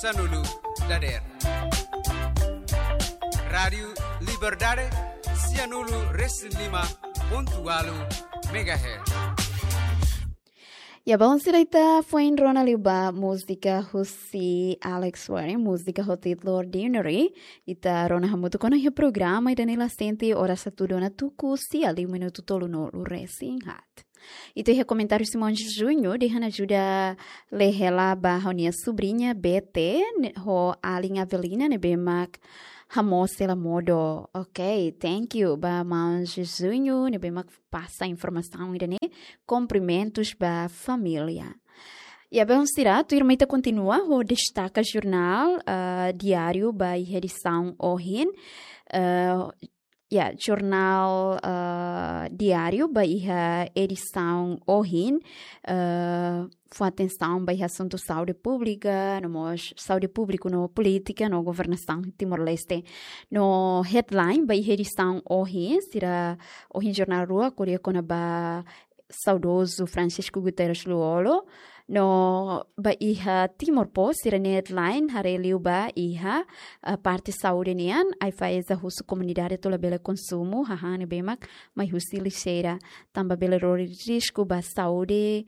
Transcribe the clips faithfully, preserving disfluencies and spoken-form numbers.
sanulu dadeer. Rádiu Liberdade, sianulu resin lima pontu ualu megahertz. Ya, bom, sira, ita foin rona liu ba múzika husi Alex Warren, múzika ho títulu Ordinary. Ita rona hamutuk ona iha programa ida-ne'e la sente oras atu dona tuku sia liu minutu tolunulu resin haat. Ita iha komentáriu Simões Júnior, dehan ajuda lee hela ba ha'u-nia subriña Bete, ne-, ho alin Avelina ne'ebé mak hamoos hela modo. Ok, thank you ba maun Júnior ne'ebé mak pasa informasaun ida-ne'e, kumprimentus ba família. Ya, bom, sira, tuirmai ita kontinua ho destaka jornál, eh, diáriu ba iha edisaun ohin. Eh, ya, jornál, eh, diáriu ba iha edisaun ohin, eh, fó atensaun ba iha asuntu saúde públika, no mós saúde públika no polítika no governasaun Timor-Leste. No headline ba iha edisaun ohin, sira, ohin jornál rua ko'alia kona-ba saudozu Francisco Guterres Lú-Olo. No ba iha Timor Post, sira-nia headline haree liu ba iha, eh, parte saúde nian, AIFAESA husu komunidade atu labele konsumu hahán ne'ebé mak mai husi lixeira, tanba bele lori risku ba saúde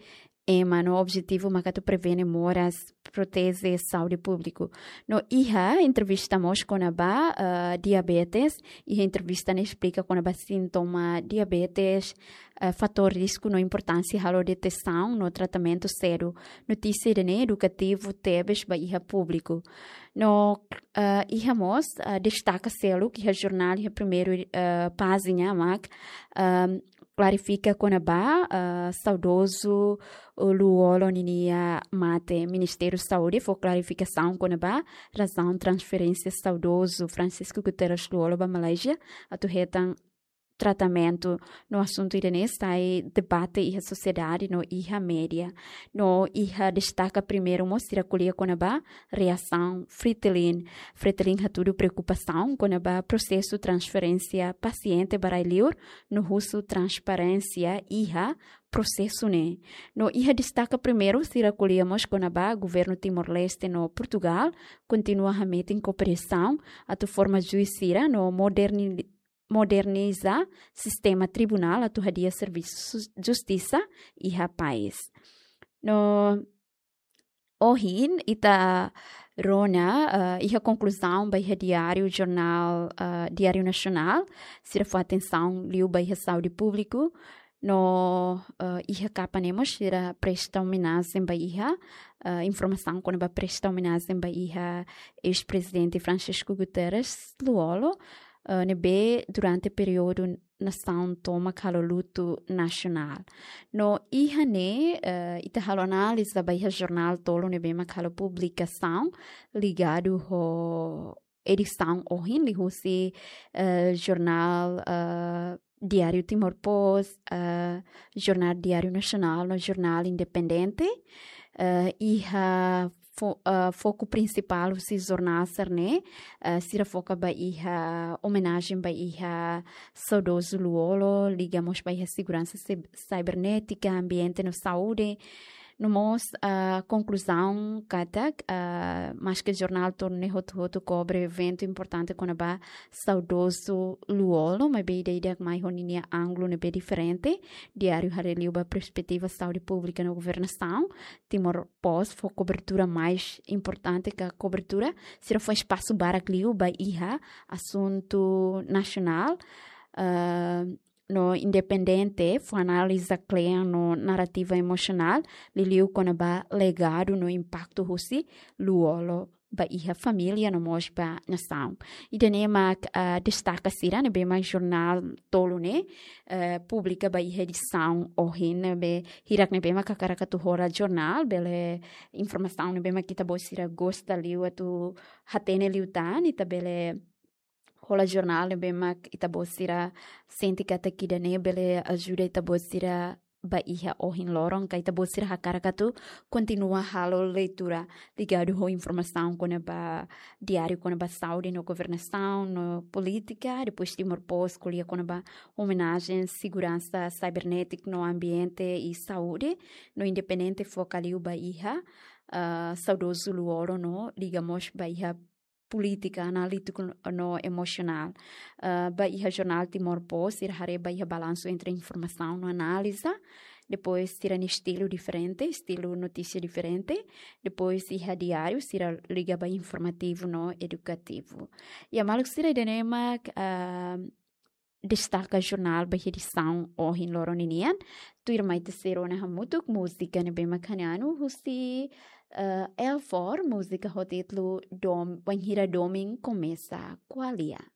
ema, no objetivu mak atu prevene moras, proteje saúde públiku. No iha entrevista mós kona-ba, eh, diabetes, iha entrevista ne'e esplika kona-ba sintoma diabetes, eh, fatór risku no importánsia halo detesaun no tratamentu sedu. Notísia ida-ne'e edukativu tebes ba iha públiku. No, eh, iha mós, eh, destaka seluk iha jornál iha primeiru, eh, pájina mak, ehm, klarifika kona-ba, eh, saudozu Lú-Olo ninia mate. Ministériu Saúde fó klarifikasaun kona-ba razaun transferénsia saudozu Francisco Guterres Lú-Olo ba Malázia atu hetan tratamentu. No asuntu ida-ne'e sai debate iha sosiedade no iha média. No iha destaka primeiru mós sira ko'alia kona-ba reasaun Fretilin. Fretilin hatudu preokupasaun kona-ba prosesu transferénsia pasiente ba rai-liur, no husu transparénsia iha prosesu ne'e. No iha destaka primeiru sira ko'alia mós kona-ba governu Timor-Leste no Portugál kontinua hametin kooperasaun atu forma juís sira no moderni-, moderniza sistema tribunál atu hadi'a servisu justisa iha país. No ohin ita rona, eh, iha konkluzaun ba iha diáriu jornál, eh, Diário Nacional, sira fó atensaun liu ba iha saúde públiku, no, eh, iha kapa ne'e mós sira presta omenajen ba iha, eh, informasaun kona-ba presta omenajen ba iha eis-prezidente Francisco Guterres Lú-Olo, eh, ne'ebé durante períodu nasaun tomak halo lutu nasionál. No iha ne'e, eh, ita halo análiza ba iha jornál tolu ne'ebé mak halo publikasaun ligadu ho edisaun ohin liuhusi, eh, jornál, eh, Diário Timor Post, eh, jornál Diário Nacional no jornál Independente. Eh, iha fo-, eh, foku prinsipál husi jornál sira-ne'e, eh, sira foka ba iha omenajen ba iha saudozu Lú-Olo, liga mós ba iha seguransa cib-, cibernética, ambiente no saúde. No mós, ah, konkluzaun katak, ah, maske jornál tolu ne'e hotu-hotu kobre eventu importante kona-ba saudozu Lú-Olo, maibé ida-idak mai ho ninia ángulu ne'ebé diferente. Diáriu haree liu ba perspetiva saúde públika no governasaun. Timor Post fó kobertura mais importante ka kobertura, sira fó espasu barak liu ba iha asuntu nasionál. Ah, no Independente fó análiza kle'an no narrativa emosionál, liuliu kona-ba legadu no impaktu husi Lú-Olo ba iha família no mós ba nasaun. Ida-ne'e mak, ah, destaka sira ne'ebé mak jornál tolu ne'e, eh, publika ba iha edisaun ohin ne'ebé hirak ne'ebé mak hakarak atu hola jornál, bele informasaun ne'ebé mak ita-boot sira gosta liu atu hatene liután, ita bele hola jornál ne'ebé mak ita-boot sira sente katak ida-ne'e bele ajuda ita-boot sira ba iha ohin loron, ka ita-boot sira hakarak atu kontinua halo leitura ligadu ho informasaun kona-ba diáriu kona-ba saúde no governasaun no polítika, depois Timor Post ko'alia kona-ba omenajen seguransa cibernética no ambiente i saúde, no Independente foka liu ba iha, ah, saudozu Lú-Olo no liga mós ba iha polítika analítiku no emosionál. Ah, ba iha jornál Timor Post, sira haree ba iha balansu entre informasaun no análiza, depois sira-nia estilu diferente, estilu notísia diferente, depois iha diáriu, sira liga ba informativu no edukativu. Ya, maluk sira, ida-ne'e mak, ah, destaka jornál ba iha edisaun ohin loron ninian. Tuirmai ita sei rona hamutuk múzika ne'ebé mak hahán husi, eh, Elfor, múzika ho títulu Dom-, Wainhira Domin Komesa. Ko'alia.